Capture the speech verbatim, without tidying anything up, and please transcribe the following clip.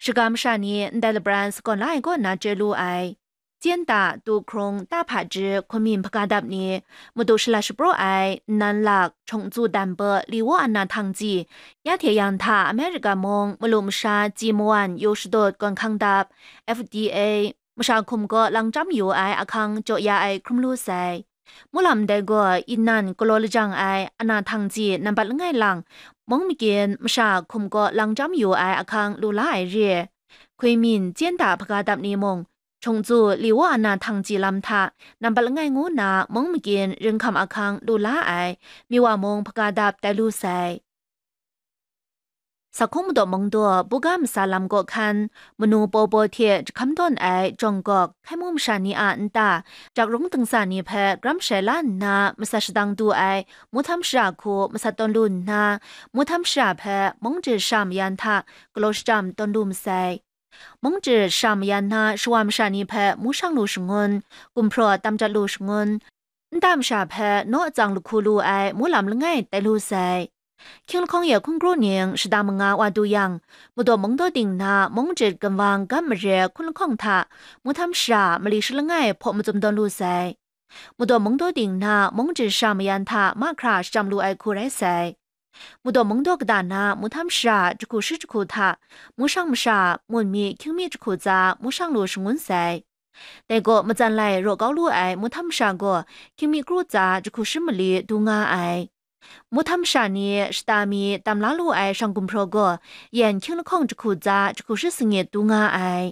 Shaga masha ni ndai labran sagawn la ai kaw na chye lu ai. Chyen da, tu hkrung, ta hpaji, hkunmin hpaga dap ni, madu shala shapraw ai, nnan lak, chongtsu dan pa, li wa ana htang ji, ya hte yang hta America mung, malu masha, ji mawan, yu shadut, gawn hkang dap, F D A, masha hkum kaw lang chyam yu ai ahkang jaw ya ai hkrum lu sai. Mulam dai gaw inan galaw lajang ai ana htang ji nambat langai lang, mung magyin masha hkum kaw lang chyam yu ai ahkang lu la ai re. Hkuimin chyen da hpaga dap ni mung, chungtsu li wa ana htang ji lam hta nambat langai ngu na mung magyin ringhkam ahkang lu la ai, mi wa mung hpaga dap tai lu sai. Sakhung madaw mungdaw buga masa lam kaw hkan, manu paw paw hte jahkam tawn ai jawng gawk, hkai mu masha ni a nta, jak rung dingsa ni hpe gram shai la nna, masat shadang du ai, muhtam shara hku masat tawn lu nna, muhtam shara hpe mung jit shara mayan hta galaw shachyam tawn lu masai. Mung jit shara mayan na shawa masha ni hpe mu shang lu shangun, gumhpraw tam jat lu shangun, nta masha hpe naw atsang lahku lu ai mulam langai tai lu sai. Hkying lahkawng ye hkungru ning shada manga wa du yang, madaw mungdaw ting na mung jit ginwang gam mare hkun lahkawng hta muhtam shara mali shi langai hpaw mazum tawn lu sai. Madaw mungdaw ting na mung jit shara mayan hta mahkra shachyam lu ai hku rai sai. Madaw mungdaw kata na muhtam shara jahku shi jahku hta, mushang masha, mun mi, hkying mi jahku tsa mushang lu shangun sai. Dai gaw matsan lai raw kau lu ai muhtam masha gaw hkying mi kru tsa jahku shi mali du nga ai. Muhtam masha ni shata mi tam la lu ai shang gumhpraw gaw yen hkying lahkawng jahku tsa jahku shi sangit du nga ai.